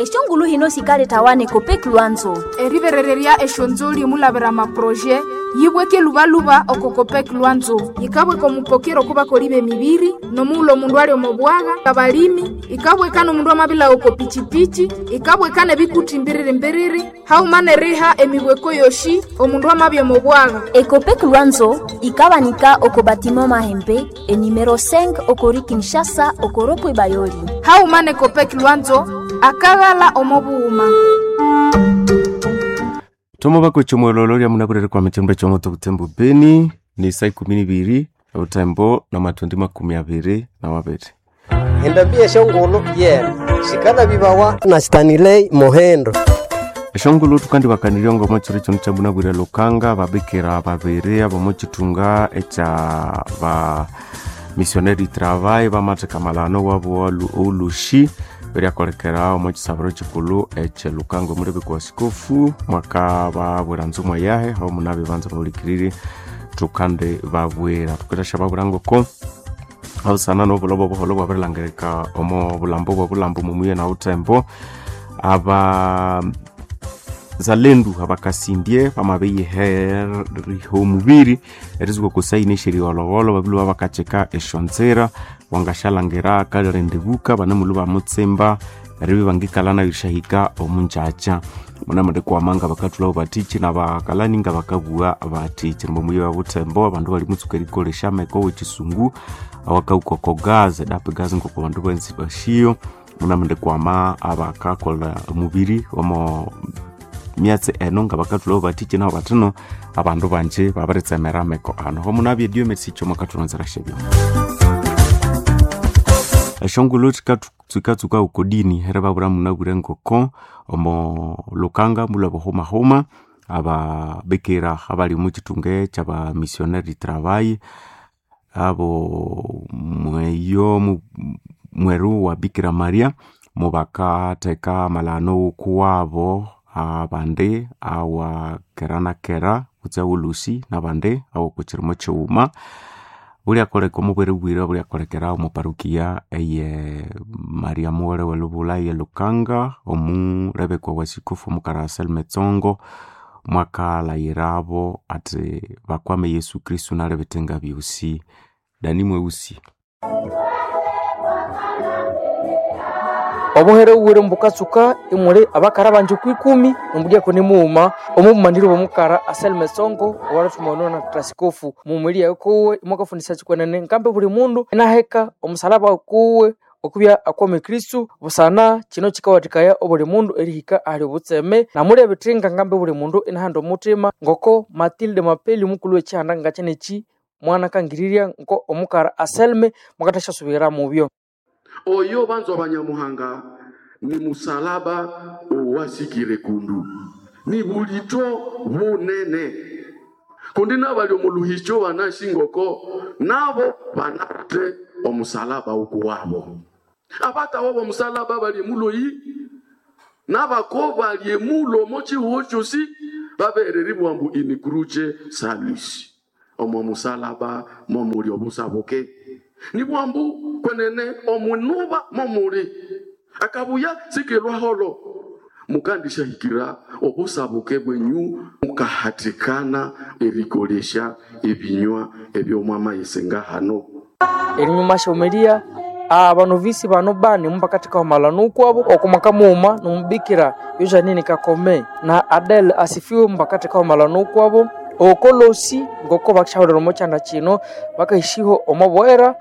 Eshongulu hino sikaletawa ne Copec Lwanzo. Eriberererya eshonzoli omulabira amaproje yibweke lubaluba oko Copec Lwanzo, yikabweka omupokero okubakoli b'emibiri, nomughulhu omundu ali omo bwagha, abalimi, ikabweka n'omundu amabilagha oko pichipichi, ikabweka n'ebikuti mbiriri-mbiriri, hauma n'eriha emibweko yoshi omundu amabya omo bwagha. Ecopec Lwanzo ikabanika oko batiment Mahembe enumero 5 okori Kinshasa okoropwe Bayoli. Hauma ne Copec Lwanzo akaghala omo bughuma. Tomo bakwethu mwololo lya munabwirere kwa mitembo chomoto butembo Beni ni saa 12 utembo na matondi 22. Endambi eshongolo yena sikala bibawa na Stanley Mohendo. Eshongolo tukandi bakanirya ngoma chiri chono cha munabwire Lukanga babikira babiri abo chitunga echa ba missionary travail bamatheka malano wabo olushi beriakolekera omo chisabiro chikulu eche Lukanga omulebe kwa sikofu mwaka babwira nzumwa yahe aho munabe banza bahulikirire tukande babwira tukatasha babwira ngoko abusana nobulobo obuholo bwabirilangirika omo bulambo bwa bulambo mumuye na utembo aba zalendu abakasindie bamabeyiheriha omubiri erizuka kusaini esheriolobolo babilu babakacheka eshonzera wangashalangira kalirendebuka banemulu bamutsimba eribi bangikala nayo erishahika omunjacha munamande kwamanga bakathulabo bathichi nabakalani nga bakabugha bathichi nimbo wa butembo abandu bali mutsuka erikolesha ameko wechisungu awakauka oko gas edapi gas ngoko bandu benzi bashiyo munamande kwama abakakolha omubiri omo myatsi eno nga bakathulabo bathichi nabo bathino abandu banje babiritsemera ameko ano homunabye dio mesicho mwakathulonzera shebyo eshongolo tsikatsuka ukodini here babura munabwire ngoko omo Lukanga mulwa buhumahuma ababikira abali mu chitunge kyaba missionary travail abo mweyo mweru wa Bikira Maria mubakatheka amalano kuwabo abandi awa kera na kera kutse ulusi nabandi awo kuchirimo chighuma bulyakoleka omubwere bwira bulyakolekera omu parukia eye Maria Mughole welubula ye Lukanga omulebekwa wa sikofu omukara Anselme Tsongo mwakalayirabo ati bakwame Yesu Kristu nalebethenga byosi Dani Mweusi. Obuhere bubwire mbukatsuka imuli abakara banji kwikumi nombudyako nimughuma omubumaniri bwomukara Anselme Tsongo owalithuma na trasikofu mumwili yawe kuwe imwakafundisya kikwenene nkambi buli mundu inaheka omusalaba kuwe okubya akwame Kristu busana kino kikawathikaya obuli mundu erihika ahali obutseme namuli ebithinga ngambi buli mundu inahanda omuthima ngoko Matilde Mapeli omukulhu wekihanda ngakyenekyi mwana kangirirya nko omukara Anselme mwakathasya mubyo. Oyo banzwa banyamuhanga ni musalaba owasikire kundu ni bulito bunene kundi nabali omuluhicho banashingoko nabo banate omusalaba ukuwabo abatawo bomusalaba bali emuloyi nabako bali emulo mochihuo chosi babereribwa mbu in cruce salusi omo musalaba momuli obusabuke nibwambu kwenene omunuba momuli akabuya sikilwaholo mukandishahikira obusabuke bwenyu mukahatikana erikolesha ebinywa ebyomwamayise ngahano. Erinyuma syomelia abanovisi bano bani mupakathika malano kwabo okumwaka mughuma nomubikira Yojanine Kakome na Adele Asifiwe mupakathika malano kwabo okolosi ngoko bakishaholera omo kyanda kino bakahishiho omo bwera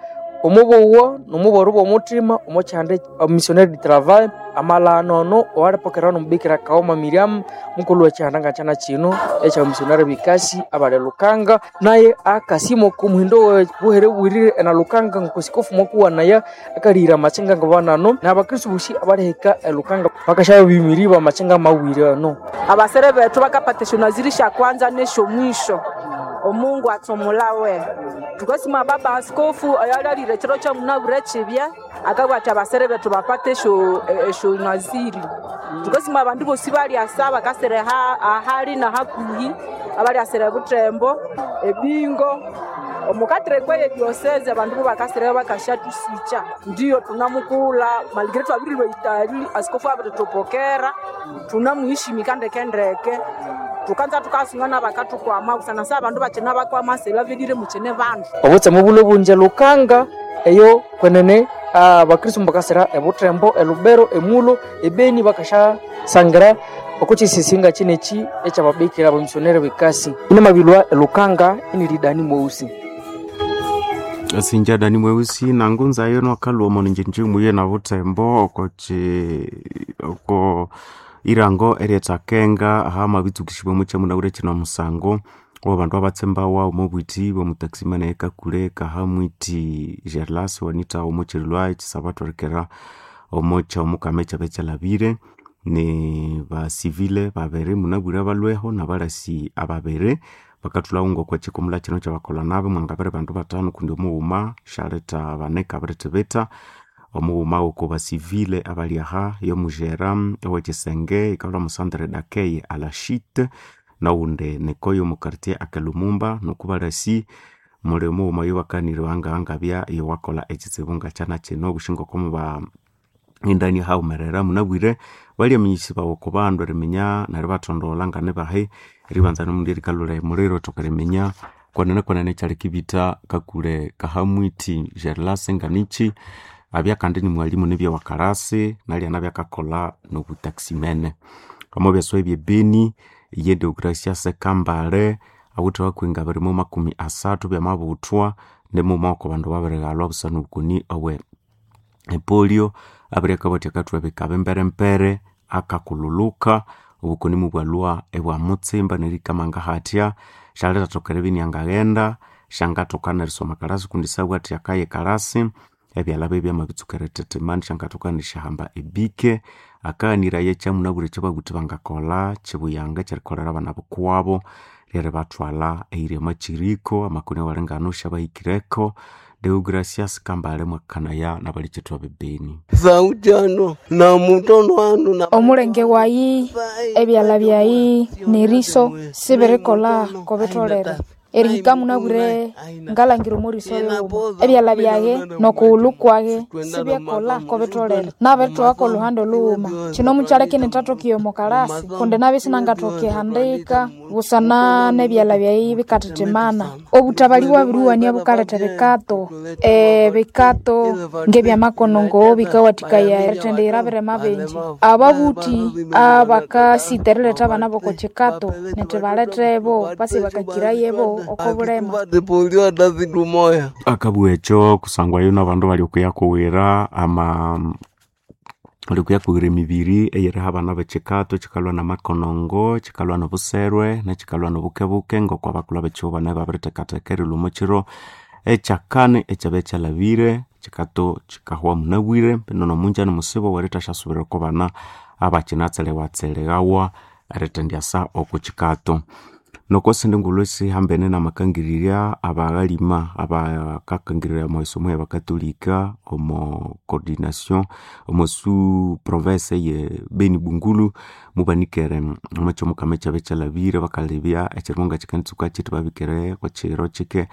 omubuwa nomuboro bw'omuthima omo kyanda missionnaire du travail amalano ono owalipokerawa nomubikira Kaoma Miriam mukulhu wekyihanda ngakyana kino ekya missionnaire bikasi abali Lukanga naye akasima oku muhindo we buhere bwirire ena Lukanga ngoko sikofu mwakuwanaya akalihira amakyenga ngabanano nabakristu bosi abalihika e Lukanga bakasya bimiri bamakyenga mawiri ano. Abasere bethu bakapata esyonaziri syakwanza nesyomwisho omungu atsomulawe tukasima baba askofu oyalyalire ekiro kyamunabwire kibya akabugha athi abasere bethu bapate esyonaziri tukasima abandu bosi balyasa bakasere ahali nahakuhi abalyasere Butembo ebingo. Omukatire kweye diocese abandu bo bakasira bakashatuswicha ndiyo tunamukula maligre twabirilwa itali askofu abiritupokera tunamuheshimika ndekendeke tukanza tukasungana bakatukwama busana sa abandu bakina bakwama selavelire mukine bandu obutseme bulo bunje lukanga eyo kwenene abakristu bakasira ebutembo, elubero, emulo, ebeni bakashasangira okukisisinga kineki ekyababikira abamisionere bekasi inamabilwa elukanga inilidani mweusi. Sinja dani mweusi nangunza yo nwakalwa omo ninjinji muye na butembo oko irango eryethakenga ahamabitsukishibwa mukyamuna kino omusango owabandu abatsembawa omo bwiti bwomutaximana ekakule kahamwiti Gerlas wanita omo kyirilwa ekisabatwerekera omo kyomukama ekyabe kyalhabire ni basivile babiri munabwire balweho nabalasi ababiri bakathulhawo ngokwakikumula kino kyabakolha nabi mwangabiri bandu batano kundi omughuma syaletha bane kabirithibitha omughuma woko basivile abali aha yomujera owekisenge ikalhwa musandre dakeye alashite nowundi nikoyo omu quartier akelumumba nuku balasi muli omughuma oyobakanire wangahangabya iyowakolha ekitsibu ngakyana kino obushi ngokomuba indani hawumerera munabwire balyaminyisibawa oko bandu eriminya neryo ibathondolha nganibahi eribanza nomundu erikalhula emuliro ithoka eriminya kwenene kwenene ekyalikibitha kakule kahamwithi Gerlas nganichi abya kandi ni mwalimu nibya wakarasi nalya nabya akakolha nobutaximene omo byaswa ebyebeni ye Deogracias Kambale awithe wakwinga biri mu 30 byamabuthwa nimughuma woko bandu babirighalwa busana obukoni obwe epolio abiri akabathya akathweba ikaba emberempere akakululuka obukoni mubwalhwa ibwamutsimba nerikama ngahathya syalithathoka eribya iniangaghenda syangathoka nerisoma kalasi kundi syabugha akaye ekalasi ebyalha bye byamabitsuka erithithima syangathoka nerishahamba ebike akaghaniraya ekyamunabwire ekyababuthi bangakolha kyibuyanga ekyerikolera abana bukuwabo lyeribathwalha eyiri omo kyiriko amakoni awalingano syabahikireko Deogracias Kambale mwakanaya nabalikithwa bebeni sautano na mutono wanu na Omulenge wayi ebyalha byayi neriso sibirikolha kobitholere erihika munabwire ngalangira omoriso yughuma ebyalha byaghe nokughulhu kwaghe sibyakolha kobitholere nabirithogha oluhande olhughuma kino mukyaleka inithathoka omo kalasi kundi nabya isinangathoka ihandika busana nebyalha byayi bikathithimana obutabali bwabiriwania bukaletha ebikato ebikato ngebyamakonongo bikawathikaya erithendiyira birema bingi ababuthi abakasita eriletha abana boko kikato nithi baletebo basi bakakirayebo okobulema polio hata siku moya akabugha ekyo kusangwa yo nabandu bali okuyakuwira ama bali okuyakuwira emibiri eyeriha abana bekikato kikalhwa namakonongo kikalhwa nobuserwe nekikalhwa nobukebuke ngoko abakulhu abekihugho bane babirithekatheka erilhwa omo kiro ekyakani ekyabya kyalhabire kikato kikahwa munabwire bino nomunja nimusibo werithashyasubirira oko bana abakinatselewatseleghawa erithendyasa oko kikato nokosindi ngulhu esihambene namakangirirya abaghalima abakakangirirya omwisomo yabakatolika omo coordination omo su province eye Beni Bungulu mubanikere omo kyomukama ekyabya kyalhabire bakalebya ekyirimo ngakikanitsuka kyithi babikere okwakiro kyike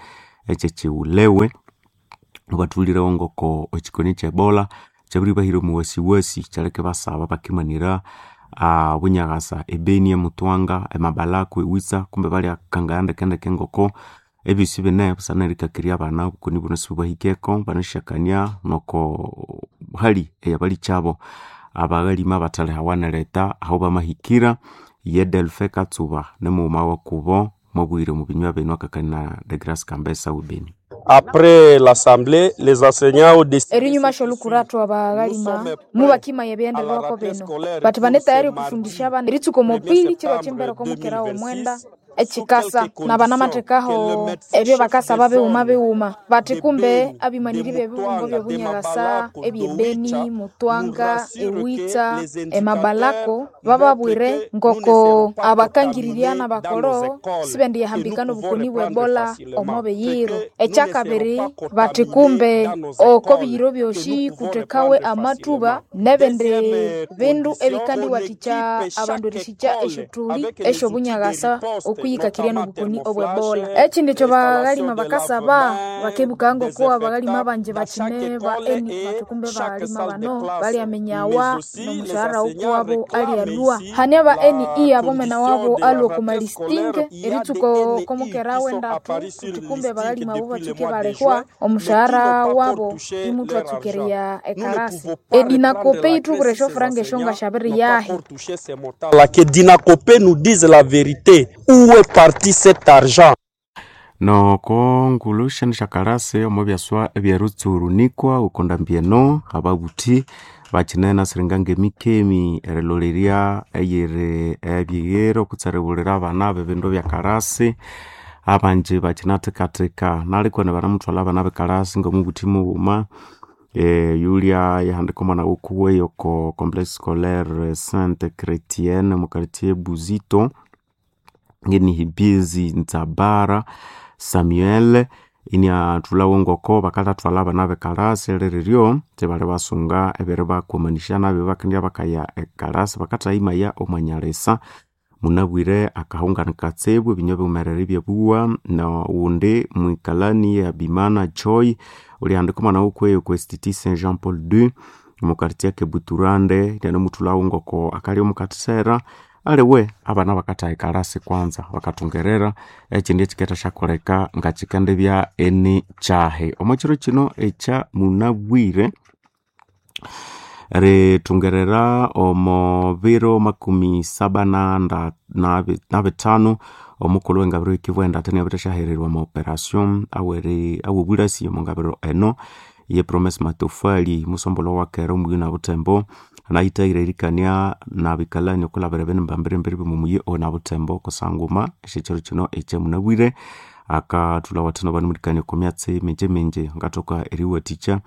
ekyekyiwulewe mubathulirewo ngoko ekikoni kye Ebola kyabiribahira omuwasiwasi kyaleka ibasaba bakimanira bunyaghasa ebeni emutwanga emabalako ewitsa kumbe balyakangaya ndekendeke ngoko ebyosi bine busana erikakirya abana obukoni buno sibubahikeko banashyakania noko hali eyabalikyabo abaghalima abathalihawa nereta aho bamahikira ye Delphin Katsuba nimughuma wakubo mwabwire omu binywa binu akakania na Degrace Kambesa webeni. Après l'assemblée, les enseignants ont décidé erinyuma syolukurathu abaghalima mubakimaya ebyendererwako bino bati bane tayari okufundisha abana eritsuka omupili kiro kyimbere okomukera womwenda ekikasa nabanamathekaho ebyo bakasaba bighuma bighuma bati kumbe abimaniri b'ebibungo by'obunyakasa ebyebeni mutwanga ewitsa emabalako bababwire ngoko abakangirirya nabakoro sibendiyahambikana obukoni bwe ebola omo biyiro ekyakabiri bati kumbe oko biyiro byosi kuthekawe amatuba nebindi bindu ebikandiwathikya abandu erisikya esyothuli esyobunyakasa okuyikakirya n'obukoni obw'Ebola. Ekindi ekyo baghalima bakasaba bakebuka ngoko abagalima bangi bakine ba eni batukumbe baghalima bano baliaminyawa n'omushahara ukuwabo alialwa. Hane aba NE abomena wabo alwa oku malistinge eritsuka okomukera w'endatu kuti kumbe abagalima abo batsuke balehwa omushahara wabo imutwatsukereya ekarasi. Edinakope yithubwira esyofuranga esyo ngashabiri yahi. La que Dinacopé nous dise la vérité. Où est parti cet argent? Noko ngulu shani shakalasi omo byaswa ebyerutsurunikwa ukondambieno ababuthi bakinene siringa ngemikemi erilolerya eyiri ebyighero kutseribulira abana b'ebindu byakalasi abanji bakinathikathika nalikweni banamuthwalha abana bekalasi ngomubuthi mughuma Yulia yahandika omwana wukuwe yoko complexe scolaire Sainte Chrétienne mu quartier Buzito ngenihibizi Nzabara Samuel iniathulhawo ngoko bakathathwalha abana bekalasi liriryo sibali basunga ebiri bakwamanisya nabyo bakendya bakaya ekalasi bakathayimaya omwanyalisa munabwire akahungana katsibu ebinywa biwumerere ebyabuwa nowundi mwikalani ya Bimana Joy ulihandika omwana wukuwe okwa Institut Saint Jean Paul II omu quartier Kebuturande inanemuthulhawo ngoko akalya omukathisera aliwe abana bakathaha ekalasi kwanza bakathungerera ekindi ekikendasyakoleka ngakikendibya eni kyahi. Omo kiro kino ekya munabwire rithungerera omo biro 77 omukulhu w'engabiro y'ekivu endatha inabirithasyahererwa omo operation aw'obulasi omo ngabiro eno ye Promise Matofali musombolwa wakera omuyi nabuthembo anayithahira erikania nabikalani okulabira ebinimba mbirimbiri by'omuyi onabuthembo kusanguma esyekiro kino ekyamunabwire akathulha wathina banemulikania oko myatsi mingi mingi ngathoka eriwathikya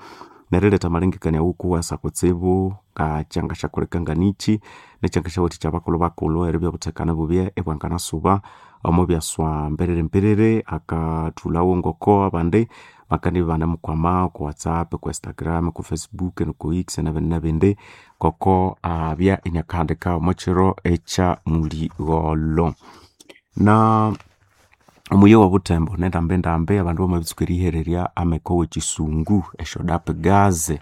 neriletha amalengekania wukuwasa kutsibu ngakyangasyakoleka nganichi nekyangasyawathikya abakulhu bakulhu eribya obuthekane bubye ibwanganasuba omo byaswa mbiriri mbiriri akathulhawo ngoko abandi bakandibya ibanemukwama oko WhatsApp, oko Instagram, oko Facebook noko X nabindi nabindi ngoko abya inakahandika omo kiro ekya muligholho. Na omuyi owobuthembo nendambendambi abandu bamabitsuka erihererya ameko w'ekisungu esyo gaze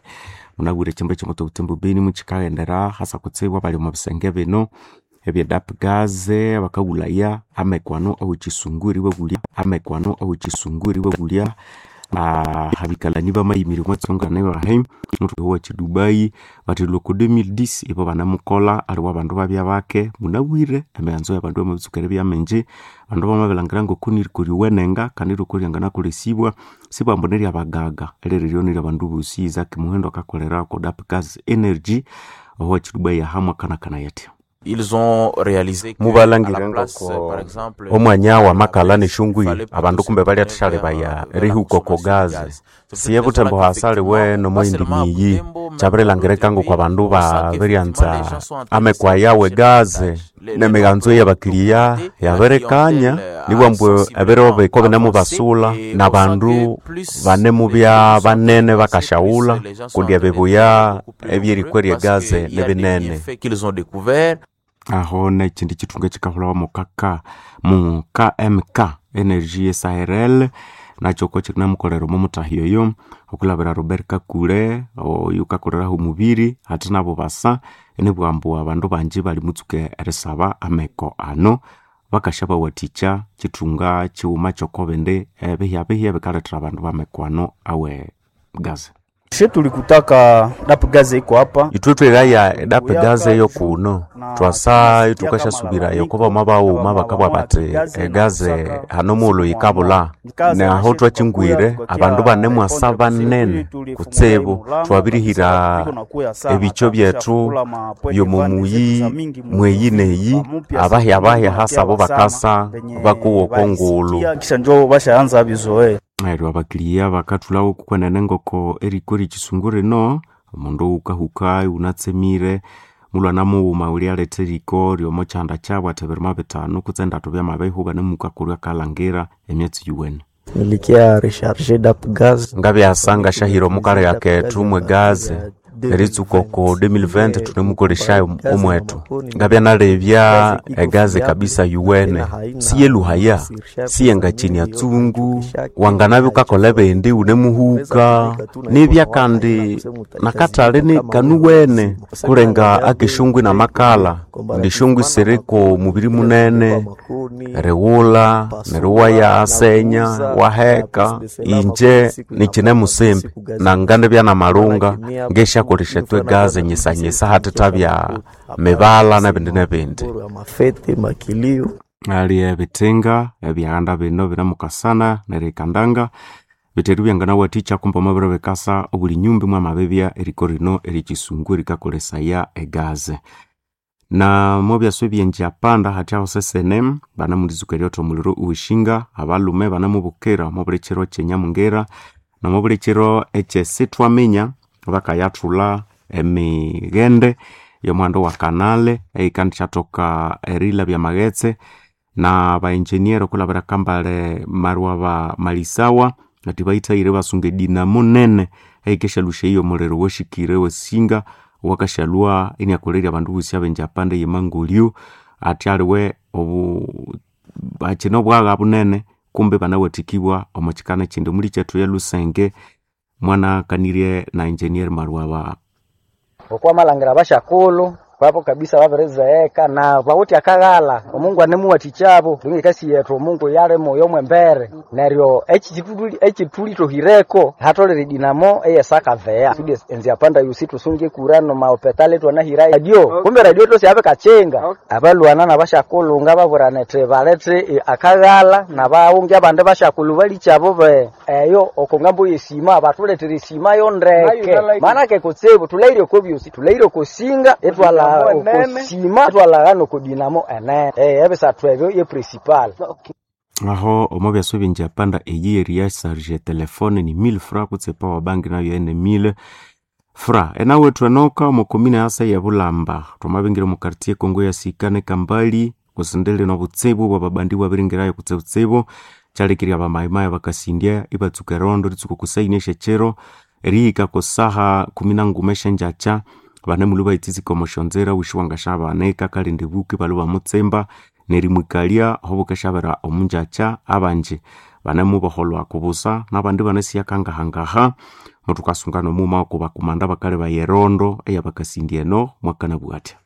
munabwire ekyambu ekyamotho obuthembo beni mukikaghendera hasa kutsibu abali omo bisenge bino ebye gaze bakaghulhaya ameko ano aw'ekisungu eribabulya ameko ano aw'ekisungu eribabulya abikalani bamayimirya omwa tsongana bahi muthu wa kidubai bathi loko 2010 ibo banamukolha aliwe abandu babya bake munabwire emighanzo y'abandu bamabitsuka eribya mingi abandu bamabilhangira ngoko niriko ryuwenenga kandi iriko ryanganakolesibwa sibambu neryabagaga eliriryo niryabandu bosi. Isaac Muhendo akakolera oko Dapgas Energy owa kidubai ahamwe akanakana yathya. Ils ont réalisé que Mubalangire à la place, ngoko par exemple, omwanya w'amakala n'eshungwi abandu kumbe balyathashalebaya erihuka oko gaze siye buthembo hasaliwe nomoyindi miyi kyabirilhangirika ngoko abandu babiryanza ameko aya w'egaze n'emighanzo y'abakiliya yabirikanya nibwambu ebiro biko binemubasula n'abandu banemubya banene bakasyaghulha kundi ebibuya ebyerikwa ery'egaze nibinene. Qu'ils ont découvert. Aho nekindi kithunga ekikahulhawa mu kaka mu KMK Energy SARL nakyo ko kinamukolera omo mutahyo oyo okulabira Robert Kakule oyu kakoleraho omubiri ate nabo basa enibwambu abandu bangi bali mutsuka erisaba ameko ano bakasyabawathikya kithunga kighuma kyokobindi ebihyabihya ebikalethera abandu bameko ano awe gaze. She tulikutaka DAP gaze iko hapa Ithwe twegaya EDAP gaze yokuno twasa ithukasyasubirayo kuba bawuma bakabugha bathi egaze hano mughulhu yikabulha naho thwakyingwire abandu banemwasa banene kutsibu twabirihira ebikyo byethu by'omomuyi mweyi neyi abahyabahya hasa abo bakasa bakuwa oko ngulhu. Kisha njo bashaanza bizoe. Neryo abakiliya bakathulhawo kwenene ngoko eriko eryekisungu rino omundu wukahuka iwunatsemire mulhwana mughuma ulyaletha eriko ryomo kyanda kyabu athi ebirima 5 kutse 3 byamabihuba nemukakolya akalhangira emyatsi yuwene. Nilikia recharger DAP gaz Ngabyasa ngasyahira omukaleka kethu mwe gaze Eritsuka oko 2020 tunemukoleshayo omwetu. Ngabya nalebya egaze kabisa yuwene, siyeluhaya, siyengachinya tsungu, wanganabya ukakola ebindi unemuhuka, nibya kandi nakatale ni kanuwene kulenga akeshongwi namakala, kundi eshongwi siriko mubiri munene, erighulha neryo iwayasenya waheka. Inje nikine musimbi nangandibya namalunga ngesyakolesya ithwe egaze nyisanyisa hatithabya mibala nebindi nebindi. Ali ebithinga ebyaghanda bino binemukasana nerikandanga biteru byanganawathikya kumbe omwabiro bikasa obuli nyumba mwamabibya eriko rino eryekisungu erikakolesaya egaze. Na mobyasa ebyengyapanda hathyaho sesene banamuritsuka eryotha omuliro oweshinga abalhume banamubukira omwabuli kiro kyenyamungira nomwabuli kiro ekyesithwaminya bakayathulha emighende yomuhanda owa kanale eyikandishathoka erilabya amaghetse na ba engineer okulabira kambale marwa ba malisawa ati bayithaghire ibasunga edinamo nene eyikesyalusya omuliro owashikire owesinga owakashalhwa iniakolerya abandu bosi abengyapanda eyemangolyo athi aliwe obu akine obwagha bunene kumbe banawathikibwa omo kikana ekindi. Omuli kyethu eyalusenge mwanakanirye na engineer Marwaba. Okwamalhangira abasyakulhu babo kabisa babirizegheka na bawithe akaghalha omungu anemuwathikyabo ekasi yethu omungu yalimo yomwembere neryo ekithulithohireko hatolere dinamo eyesakaveya kusudi enziapanda yosi thusunge kura nomaopetali thwanahira radio kumbe radio tosi yabikakyenga abalwana nabasyakulhu ngababwirana ethi balethe akaghalha nabaghungi abandi basyakulhu balikyabo be eyo oko ngambo yesima bathulethera esima yondeke manake kutsibu thulhaire oko byosi thulhaire oko singa ithwalha okosima thwalagha noko dinamo enene ebisathu ebyo ye principal. Aho omo byasa ebyengyapanda eyi eriyasarja etelefone ni 1000 fra kutse epower bank nayo ene 1000 fra. Enawethu enoka omo komine yasa eyebulamba thwamabingira omo quartier Kongo yasika nekambali kusindili nobutsibu bwababandi bwabiringirayo kutsibutsibu kyalekirya abamayimayi bakasindya ibatsuka erondo eritsuka okusaini esyekyiro erihika kusaha 13 esyengyakya banemulhu bayitsitsika omo syonzira wishi wangasyabanika kalinda ebuku ibalhwa bamutsimba nerimwikalya aho bukasyabera omungyakya abanji banemuboholwa kubusa nabandi ibanasiya kangahangaha muthukasunga nomughuma okubakumanda bakalebaya erondo eyabakasindya eno mwakanabugha athya.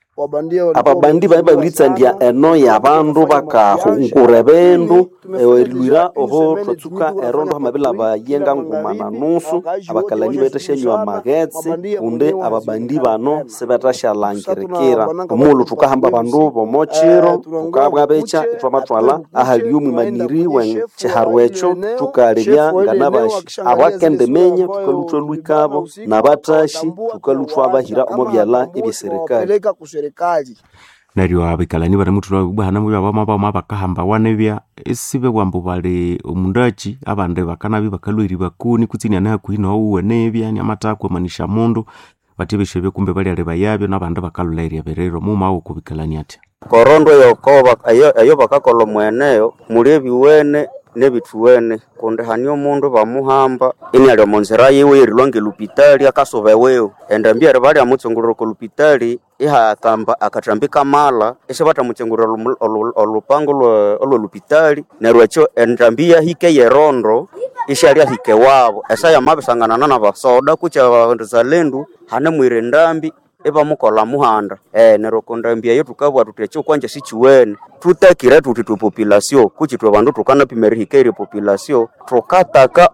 Ababandi babi babiritsandya eno yabandu bakahungura ebindu erilwira oho thwatsuka erondo hamabilaba yenga nguma na nusu abakalani bethasyanywa amaghetse kundi ababandi bano sibethasyalangirikira omughulhu thukahamba abandu bomokyiro thukabwabekya ithwamathwalha ahali omwimaniri wekiharu ekyo thukalebya nganabashi abakendiminya thukalhuthwa lwikabo nabathashi thukalhuthwa bahira omo byalha ebyeserikali. Neryo abikalani banemuthulha ibwa hane bamabama bakahambawa nibya isibebwa ambu bali omundakyi abandi bakanabya ibakalhwa eribakoni kutse iniane hakuhi nowuwe nibya iniamathakwa amanisya mundu bathi ebisyo ebyo kumbe balyalebayabyo nabandi bakalhulha ebiriro. Mughuma wokubikalani athya. Korondo eyo bakakolha omweneyo muli ebiwene nebithuwene kundi hane omundu bamuhamba iniali omo nzira yiwe erilhwa ngelupitali akasuba ewiwe endambi eribya lyamutsungulira oko lupitali ihakamba akathambi kamala isibathamutsungulira olupango olwolupitali neryo ekyo endambi yahika eyerondo isyalyahika ewabo esa yamabisanganana nabasoda kutse abazalendu hanemwira endambi ibamukolha muhanda neryo okondambi eyo thukabugha thuthi ekyo kwanja sikiwene thutakire thuthi ithwe population kutse ithwe bandu thukanapima erihika erye population thukataka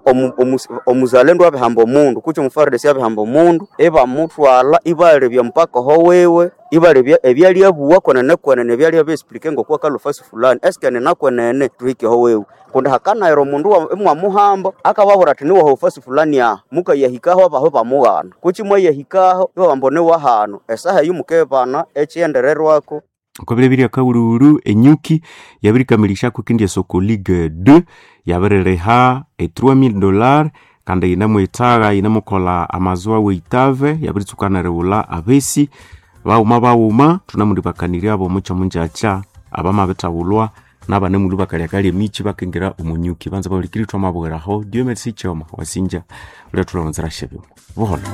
omuzalendu abihamba omundu kutse omufaridesi abihamba omundu ibamuthwalha ibalebya mpaka aho wiwe ibalebya ebyalyabuwa kwenene kwenene ebyalya explique ngoko akalhwa fulani eske nina kwenene thuhike aho wiwe kundi hakanayira omundu imwamuhamba akababwira athi niwaho fasi fulani aha mukayahikaho abaho bamughana kutse imwayahikaho ibabamba niwahanu esaha eyo mukebana ekyiyendererwako Okobirobirya kaghulhughulhu enyuki yabirikamilisyaku ekindi esoko Ligue 2 yabiririha e $3000 kandi yinemwithagha yinemukolha amazoa weitave yabiritsuka nerighulha abesi baghuma baghuma thunemulibakaniryabo omuky omungyakya abamabithaghulhwa nabanemulhu bakalyakalya emikyi bakingira omunyuki banza bahulikiri thwamabughiraho. Dieu merci Kyoma wasinja ulyathulha omunzira syebyuma buholho.